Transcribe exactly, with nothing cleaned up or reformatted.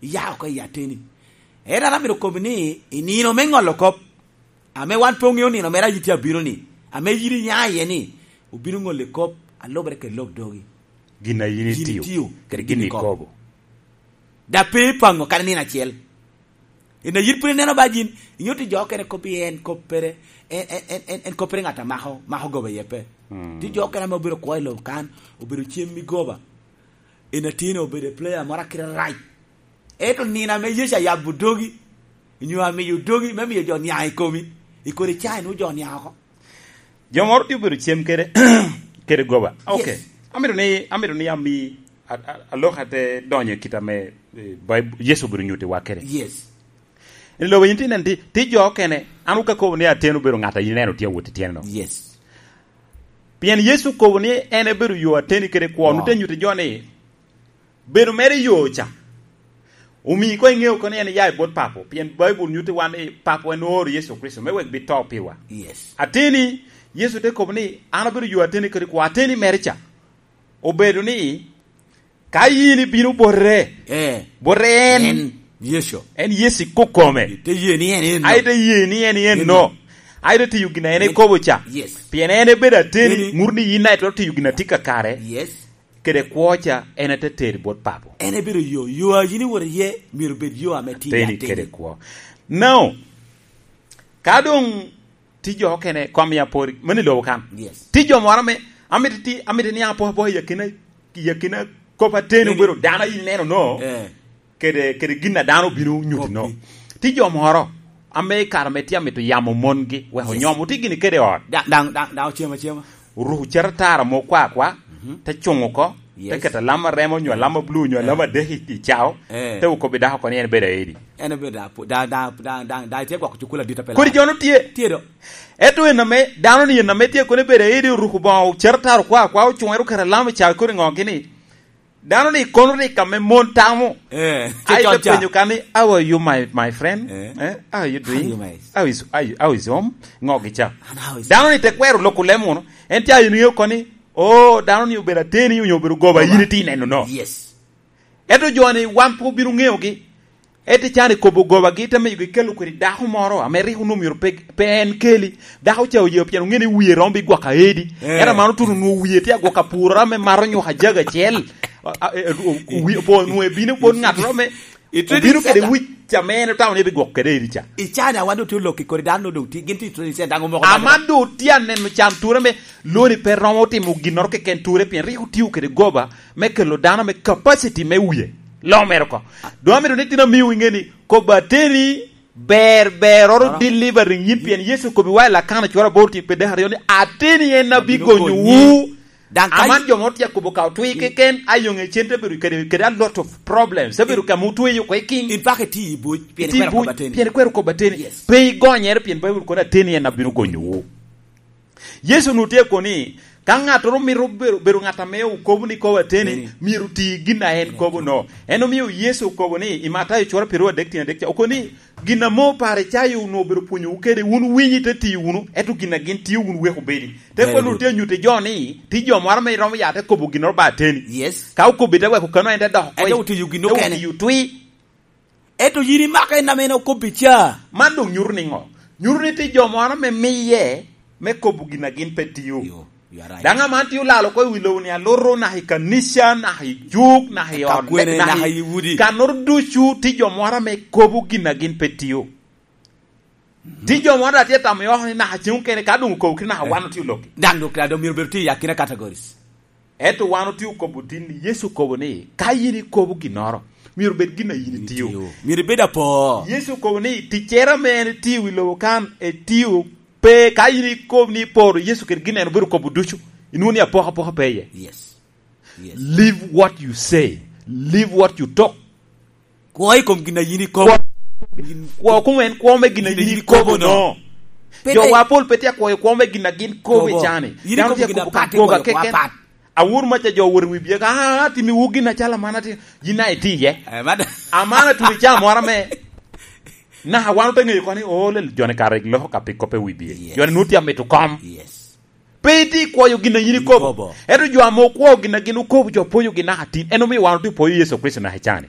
Iya oko i ateni. Ento an amito kobi ni, i nino me ŋolo kop, ame wan pe oŋeo nino mere a yin tye abino ni, ame yin iya iye ni, obino ŋolo kop a lubere kede lok dogi. Gin a yin Yin itio, itio, kede kede gin gin ikobo. Ikobo. Da pe ipaŋo kadi nino acel. Ina yin pwod ineno ba yin, inyutti jo okene kop i en, kop pere, en, en, en, en, en kop pere ŋat a mako, mako goba iye pe. Mm. Ti jo okene ame obedo kwo i lobo kan, obedo cem i goba. En atino obedo player moro akite rac. Ento nino ame Yecu ayabo dogi, nyo amiyo dogi, me miyo jo niaŋ i komi, i kodi ca inwo jo niaŋ oko. Jo moro tye obedo cem kede, kede goba. Ok. Yes. Amito ni, amito ni ami, a, a, alok ate donyo i kit ame, eh, Baib-, Yecu obedo nyutiwa kede. Yes. I lobo yin ti nen ti, ti jo okene, an wuka kobo ni ateni obedo ŋat a yin ineno tye awot i tyeno. Yes. Pien Yecu okobo ni en ebedo yo ateni kede kwo, Wow. nute nyuto jo ni, bedo mere i yo ca, omii koŋ iŋeo kono ni en iya i bot Papo, pien Baibul nyutti wan ni Papo en ooro Yecu Kricito me wek bito piwa. Yes. Ateni, Yecu te kobo ni, "An abedo yo ateni kede kwo, ateni mere ca." Obedo ni, ka yin ibino bote, Eh. bote en, En, Yecu. en Yecu ikokome. Ite ye ni en en no. Ai, ite ye ni en, en Eno. no. Ai, ite tiyo gin a en Yes. ekobo ca. Yes. Pien en ebedo ateni, Eni. ŋut ni yin daŋ itwero tiyo gin a tye kakare. Yes. Kede kwo ca, en ete teri bot Papo. En ebedo yo, yo a yin iwoto iye, myero bed yo ame tye Ateni ateni. kede kwo. Now, ka doŋ ti jo okene, kom ya pori, mani lobo kan. Yes. Ti jo moro ame, amito ti, amito ni apo apo i akina, i akina kop ateni Eni. obedo dano a yin ineno no. Eh. Kede, kede gin a dano obino nyuti no. Koppi. Ti jo moro, ame i kare ame tye amito yamo mongi, wek Yes. onyom, oti gini kede ot. Da-, daŋ, daŋ, daŋ ocem acema. Oruko cero tara mo kwa kwa, Mhm. te cuŋ oko, Yes. te keto alama remo, nyo alama blu, nyo Eh. alama adek i, i cao, Eh. te okobbi dako oko ni en bedo aedi. En obedo da, da, da, da, da, da, itye gwoko cukul adit apela. Kodi jo no tye. Tye do. Ento en ame, dano ni en ame tye kono ebedo aedi, oruko boŋo, cero tara kwa kwa, ocuŋere oketo alama i cao, kodi ŋo gini. Dano ni kono rik ame mon tamo. Eh, Ai, te con ca. penyo ka ni, "How are you, my, my friend? Eh? Eh, how are you doing? How are you, my How is, how you, how is home?" Ŋo gi ca. And how is Dano ni te kwero loko lemo no. En ca yin ŋeo koni, "Oh, dano ni obedo ateni, onyo obedo goba, Goba. yin itye neno no." Yes. Ento jo ni wan pe obino ŋeogi. Ento can i kobo goba gi te miyo gi kelo kwedi dako moro, ame rik onwoŋo myero pe, pe en keli. Dako ca oye pien oŋeo ni wie romo bi gwoko aedi. Eh. Ento man otuno onwoŋo wie tye agwoko apuro ame mato nyuka jaga acel. A, a, e, o, o, wie, po onwoŋo ebino bot ŋat ame Itwero obino kede cata. wic ca ame en otamo ni ebigwoko kede edi ca. I cana wan doŋ tye olok i kodi dano doŋ tye, gin tye i Australia daŋ omoko Aman doŋ tye aneno can ture me loni pe romo timo ginnoro keken ture pien rik otio kede goba me kelo dano me capacity me wie. Lo mere oko. Doŋ amito ni tin amiyo inge ni kobo ateni ber, ber oro Oro. delivering yin pien Yecu okobi wa i Lakana cwara aboro tye pe dek aryo ni ateni en Abino abigonyowu. konyi. Daŋ ka Aman jo moro tye akobo ka otwe keken, ayoŋe cen te bedo kede, kede a lot of problems. Te bedo ka mutweyo oko i king. In paka iti i buc, pien Iti i ikwero buc, kobo ateni. pien ikwero kobo ateni. Yes. Pe igonyere, pien Baibul kono ateni en abino gonyowu. Yecu nu tye koni, ka ŋattoro mito bedo, bedo ŋat ame okobo ni kobo ateni, Ateni. myero oti gin a en kobo no. En omio Yecu okobo ni, i Matayo cura pirwa adek tyen adek ca, okoni, Gin ame Oparicayo onwoŋo obedo pwonyowu kede, wun winyi te tiyo wunu, ento gin a gin tio wun wek obedi. Te Very kono good. tye nyutte jo ni, ti jo moro ame iromo ya te kobo ginnoro ba ateni. Yes. Ka okobbi te weko kano en te dok oko Ento i-, otiyo gin te okene. otiyo twi. Ento yin imako en ame en okobbi ca. Man doŋ nyuto ni ŋo? Nyuto ni ti jo moro ame miye me kobo gin a gin pe tio. Yo. You are right. Daŋ aman tye olalo oko i wi lobo ni aluto, naka i kanica, naka i juk, naka i Ka ot, kwene, naka naka i i udi. Kannoro ducu tye jo moro ame kobo gin a gin pe tio. Tye jo moro a tye tamo i oko ni naka ceŋ okene ka doŋ okobo kite naka wan otye olokki. Daŋ doŋ kare doŋ myero bedo tye i akina categories. Ento wan otye okobo tin ni Yecu okobo ni ka yin ikobo ginnoro, myero bed gin a yin itio. Itio. Myero ibed apor. Yecu okobo ni ticcere ame en etio i lobo kan, etio Pe ka yin ikob ni iporo Yecu kede gin en obedo kobo ducu, inwoŋo ni apokapoka pe iye. Yes. Yes. Live what you say. Live what you talk. Kwo i kom gin a yin ikobo. Kwo, kwo kom en kwo me gin a yin ikobo no. Pe Jo te- wa pol pe tye akwoyo kwo me gin a gin kobo i Kobo. cani. Yin Dano ikobo tye gin kobo ka apat, goba ikobo keken. apat. Awor maca jo wot i wi bye ka, "Ah, atimiwu gin acalo aman ati-, yin a iti iye." Eh, mad- Aman atuli ca moro ame. Naka wan ote ŋeyo koni, "Oh, lel joni kare loko ka pi kop i wi bye." Yes. Joni nu tye amito kom. Yes. Pe iti kwoyo gin a yin ikobo. Ikobo. Ento jo ame okwoyo gin a gin okobo, jo pwonyo gin naka tin. En omio wan otye pwoyo Yecu Kricito naka i cani.